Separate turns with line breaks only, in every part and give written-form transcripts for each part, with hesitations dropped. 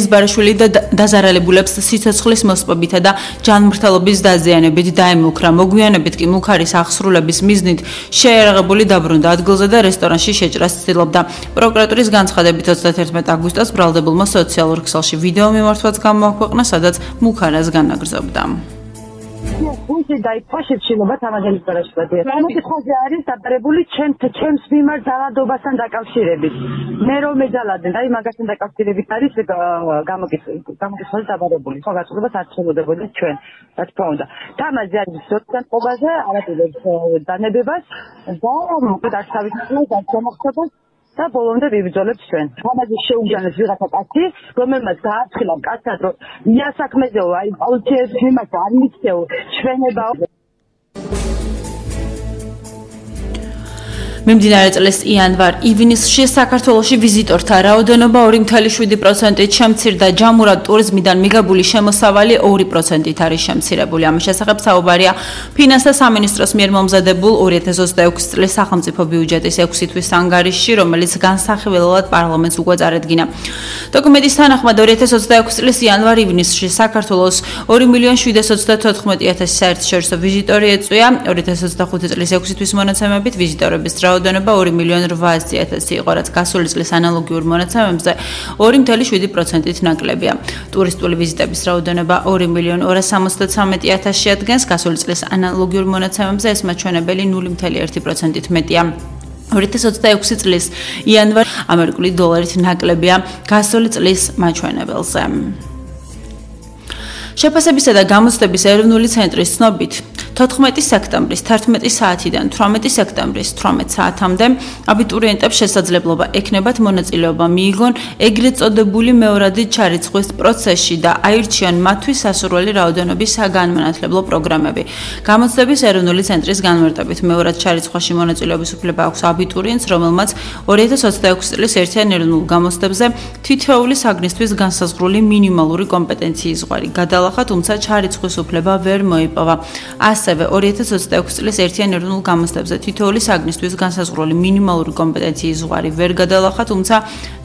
ელიზბარაშვილი დაზარალებულებს სიცოცხლის მოსპობითა და ჯანმრთელობის დაზიანებით დაემუქრა. მოგვიანებით კი მუქარის აღსრულების მიზნით შეერაღებული დაბრუნდა ადგილზე და რესტორანში შეჭრას ცდილობდა. პროკურატურის განცხადებით 31 აგვისტოს ბრალდებულმა სოციალურ ქსელში ვიდეო მიმართვაც გამოაქვეყნა, სადაც მუქარას განაგრძობდა.
Უსი დაიფაშეთ შილობა თამაზელის პარაშუტია. მოკითხვაზე არის დაბარებული ჩემს მიმართ ძალადობასთან დაკავშირებით. მე რომ მეძალადე, აი მაგასთან დაკავშირებით არის გამოკითხვაზე დაბარებული. ხო გაწოდებას არ ცდილობდი ჩვენ, რა თქმა უნდა. თამაზე არის სოციალურ ყობაზე არაპირებს დანებებას და მოკლედ არ თავისუფლებას არ შემოხდებას და ბოლომდე ვიბრძოლებთ ჩვენ. თამაზე შეუგანეს ვიღაცა კაცი, რომელმაც გააცხილა კაცად, რომ იასაქმეზეო, აი პოლიციის მიმართ არ მიქცეო, ჩვენებაო.
მიმდინარე წლის იანვარ-ივნისში საქართველოში ვიზიტორთა რაოდენობა 2.7%-ით შემცირდა, ჯამურად ტურიზმიდან მიღებული შემოსავალი 2%-ით არის შემცირებული. ამის შესახებ საუბარია ფინანსთა სამინისტროს მიერ მომზადებულ 2026 წლის სახელმწიფო ბიუჯეტის 6 თვის ანგარიშში, რომელიც განსახილველად პარლამენტს უკვე წარედგინა. დოკუმენტის თანახმად 2026 წლის იანვარ-ივნისში საქართველოს 2.734.000 საერთაშორისო ვიზიტორი ეწვია. 2025 წლის 6 თვის მონაცემებით ვიზიტორების რაოდენობა 2.800.000 იყო, რაც გასული წლის ანალოგიურ მონაცემებზე 2.7%-ით ნაკლებია. ტურისტული ვიზიტების რაოდენობა 2.263.000 შეადგენს, გასული წლის ანალოგიურ მონაცემებზე ეს მაჩვენებელი 0.1%-ით მეტია. 2026 წლის იანვარ ამერიკული დოლარით ნაკლებია გასული წლის მაჩვენებელზე. შეფასებისა და გამოცდების ეროვნული ცენტრის ცნობით 14 სექტემბრის 11 საათიდან 18 სექტემბრის 18 საათამდე აბიტურიენტებს შესაძლებლობა ექნებათ მონაწილეობა მიიღონ ეგრეთ წოდებული მეორადი ჩარიცხვის პროცესში და აირჩიონ მათთვის სასურველი რაოდენობის საგანმანათლებლო პროგრამები. გამოცდების ეროვნული ცენტრის განმარტებით მეორად ჩარიცხვაში მონაწილეობის უფლება აქვს აბიტურიენტს, რომელმაც 2026 წლის ერთიან ეროვნულ გამოცდებზე თითოეული საგნისთვის განსაზღვრული მინიმალური კომპეტენციის ზღვარი გადალახა, თუმცა ჩარიცხვის უფლება ვერ მოიპოვა. ასევე 2026 წლის ერთიან ეროვნულ გამოცდებზე თითოეული საგნისთვის განსაზღვრული მინიმალური კომპეტენციის ზღვარი ვერ გადალახა, თუმცა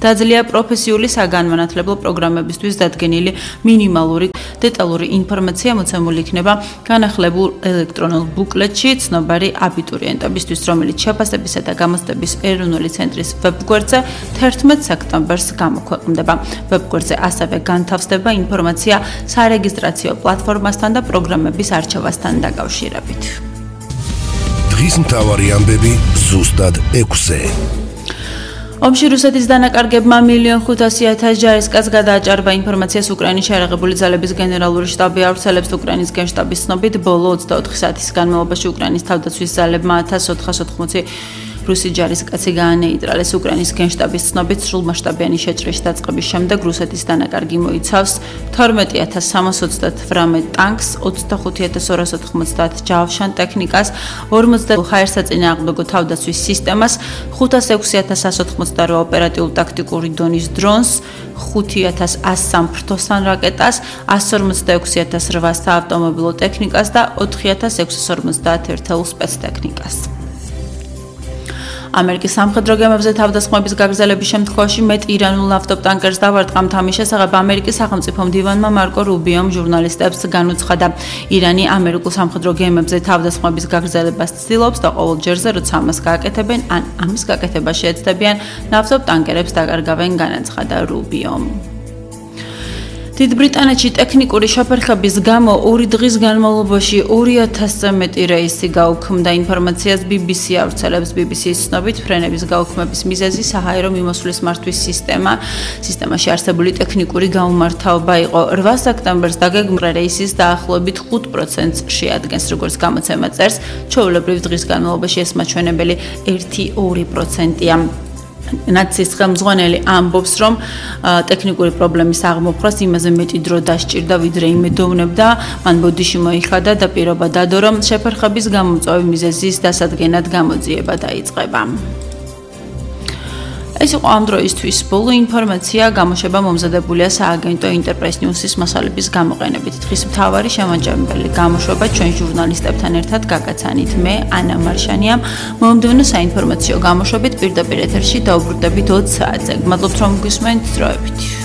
დაძლია პროფესიული საგანმანათლებლო პროგრამებისთვის დადგენილი მინიმალური დეტალური ინფორმაცია მოცემული იქნება განახლებულ ელექტრონულ ბუკლეტში ცნობარი აბიტურიენტებისთვის, რომელიც შეფასებისა და გამოცდების ეროვნული ცენტრის ვებგვერდზე 11 სექტემბერს გამოქვეყნდება. ვებგვერდზე ასევე განთავსდება ინფორმაცია სარეგისტრაციო პლატფორმასთან და პროგრამების არჩევასთან დაკავშირებით.
დღის მთავარი ამბები ზუსტად 6-ზე.
ომში რუსეთის დანაკარგებმა 1.500.000 ჯარისკაცს გადააჭარბა. ინფორმაციას უკრაინის შეერაღებული ძალების გენერალური შტაბი ავრცელებს. უკრაინის გენშტაბის ცნობით, ბოლო 24 საათის განმავლობაში უკრაინის თავდაცვის ძალებმა 1480 რუსი ჯარისკაცი გაანეიტრალეს. უკრაინის გენშტაბის ცნობით, სრულმასშტაბიანი შეჭრის დაწყების შემდეგ რუსეთის დანაკარგი მოიცავს 12.328 ტანკს, 25.290 ჯავშან ტექნიკას, 40 ჰაერსაწინააღმდეგო თავდაცვის სისტემას, 506.188 ოპერატიულ-ტაქტიკური დონის დრონს, 5.100 ფრთოსან რაკეტას, 156.800 საავტომობილო ტექნიკას და 4.651 სპეცტექნიკას. ამერიკის სამხედრო გემებზე თავდასხმების გაგრძელების შემთხვევაში მეტ ირანულ ნავტობტანკერს დავარტყამთ. ამის შესახებ ამერიკის სახელმწიფო მდივანმა მარკო რუბიომ ჟურნალისტებს განუცხადა. ირანი ამერიკულ სამხედრო გემებზე თავდასხმების გაგრძელებას ცდილობს და ყოველ ჯერზე, როცა ამას გააკეთებენ, ან ამის გაკეთებას შეეცდებიან, ნავტობტანკერებს დაკარგავენ, განაცხადა რუბიომ. დიდ ბრიტანეთში ტექნიკური შეფერხების გამო 2 დღის განმავლობაში 2000-ზე მეტი რეისი გაუქმდა. ინფორმაციას BBC ავრცელებს. BBC-ის ცნობით, ფრენების გაუქმების მიზეზი საჰაერო მიმოსვლის მართვის სისტემაში არსებული ტექნიკური გაუმართავება იყო. 8 სექტემბერს დაგეგმილი რეისის დაახლოებით 5%-ს შეადგენს, როგორც გამოცემა წერს. ჩვეულებრივ დღის განმავლობაში ეს მაჩვენებელი 1-2%-ია. ნაცის ხელმძღვანელი ამბობს, რომ ტექნიკური პრობლემის აღმოფხვრას იმაზე მეტი დრო დასჭირდა, ვიდრე იმედოვნებდა. მან ბოდიში მოიხადა და პირობა დადო, რომ შეფერხების გამომწვევი მიზეზის დასადგენად გამოძიება დაიწყება. ეს იყო ამ დროისთვის ბოლო ინფორმაცია. გამოშვება მომზადებულია სააგენტო ინტერპრეს ნიუსის მასალების გამოყენებით. დღის მთავარი შემაჯამებელი გამოშვება ჩვენ ჟურნალისტებთან ერთად გაგაცანით. მე ანა მარშანია. მომდევნო საინფორმაციო გამოშვებით პირდაპირ ეთერში დაუბრუნდებით 20 საათზე. მადლობთ რომ გვისმენთ. დროებით.